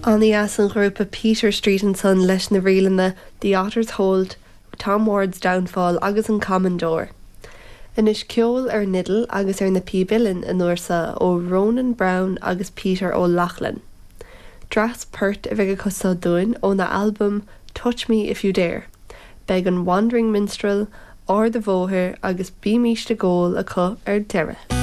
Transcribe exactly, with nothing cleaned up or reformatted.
An-dheas an grúpa Peter Street ansan leis na ríleanna The Otters Hold, Tom Ward's Downfall agus an Commodore. Anois ceol ar an fhidil agus ar na píob uilleann an uair seo ó Ronan Brown agus Peter O'Loughlin. Dreas poirt a bheidh acu seo dúinn óna albam Touch Me If You Dare. Beidh an Wandering Minstrel, Ard a' Bhóthair agus Bímist ag Ól acu ar deireadh.